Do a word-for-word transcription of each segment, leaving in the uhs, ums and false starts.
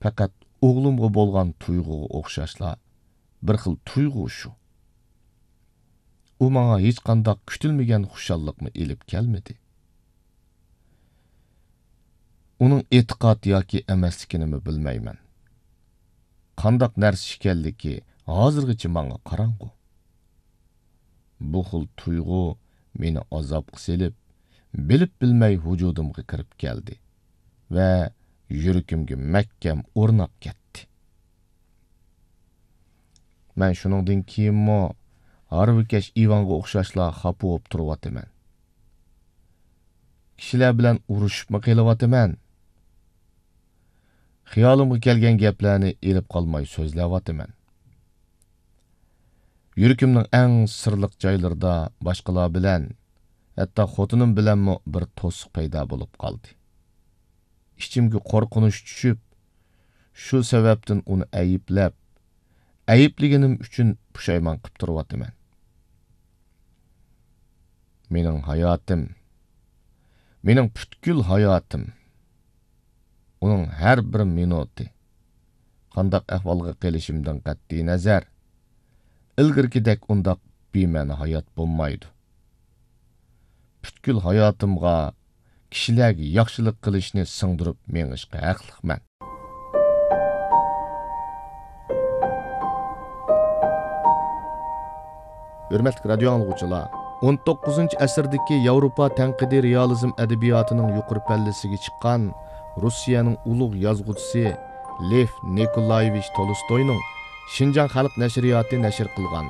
پەقەت ئوغلۇمغا بولغان تۇيغۇغا ئوخشاشلا بىر خىل تۇيغۇ شۇ. ئۇ ماڭا ھېچقانداق كۈتۈلمىگەن خۇشاللىقمۇ ئېلىپ كەلمىدى. ئۇنىڭ ئېتىقاد ياكى ئەمەسلىكىنىمۇ بىلمەيمەن. قانداق نەرسە ئىكەنلىكى ھازىرغىچە ماڭا قاراڭغۇ. بۇ خىل تۇيغۇ مېنى ئازابقا سېلىپ، بىلىپ بىلمەي ۋۇجۇدۇمغا كىرىپ كەلدى ۋە يۈرىكىمگە مەھكەم ئورناپ كەتتى. مەن شۇنىڭدىن كېيىنمۇ ھارۋىكەش ئىۋانغا ئوخشاشلا خاپا بولۇپ تۇرۇۋاتىمەن. كىشىلەر بىلەن ئۇرۇشۇپمۇ قېلىۋاتىمەن. خىيالىمغا كەلگەن گەپلەرنى ئېلىپ قالماي سۆزلەۋاتىمەن. يۈرىكىمنىڭ ئەڭ سىرلىق جايلىرىدا باشقىلار بىلەن، ھەتتا خوتۇنۇم بىلەنمۇ بىر توسۇق پەيدا بولۇپ قالدى. ئىچىمگە قورقۇنچ چۈشۈپ، شۇ سەۋەبتىن ئۇنى ئەيىبلەپ، ئەيىبلىگىنىم ئۈچۈن پۇشايمان قىپ تۇرۇۋاتىمەن. مېنىڭ ھاياتىم، مېنىڭ پۈتكۈل ھاياتىم، ئۇنىڭ ھەر بىر مىنۇتى، قانداق ئەھۋالغا قېلىشىمدىن قەتئىينەزەر، ئىلگىرىكىدەك ئۇنداق بىمەنە ھايات بولمايدۇ. پۈتكۈل ھاياتىمغا كىشىلەرگە ياخشىلىق قىلىشنى سىڭدۈرۈپ مېڭىشقا ھەقلىقمەن. ھۆرمەتلىك رادىيو ئاڭلىغۇچىلار، ئون توققۇزىنچى ئەسىردىكى ياۋروپا تەنقىدىي رېئالىزم ئەدەبىياتىنىڭ يۇقىرى پەللىسىگە چىققان روسىيەنىڭ ئۇلۇغ يازغۇچىسى لېف نىكولايېۋىچ تولستوينىڭ شىنجاڭ خەلق نەشرىياتى نەشر قىلغان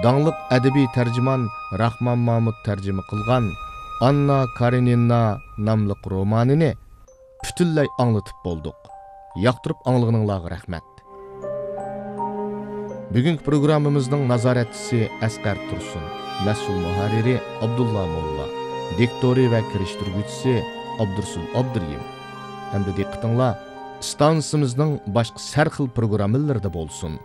داڭلىق ئەدەبىي تەرجىمان راخمان مامۇت تەرجىمە قىلغان ئاننا كارېنىنا ناملىق رومانىنى پۈتۈنلەي ئاڭلىتىپ بولدۇق. ياقتۇرۇپ ئاڭلىغىنىڭلارغا رەھمەت. بۈگۈنكى پروگراممىمىزنىڭ نازارەتچىسى ئەسقەر تۇرسۇن، مەسئۇل مۇھەررىرى ئابدۇللا موللا، دىكتورى ۋە كىرىشتۈرگۈچىسى ئابدۇرسۇل ئابدۇرېھىم. ھەمدە دىققىتىڭلار ئىستانسىمىزنىڭ باشقا سەرخىل پروگراممىلىرىدا بولسۇن.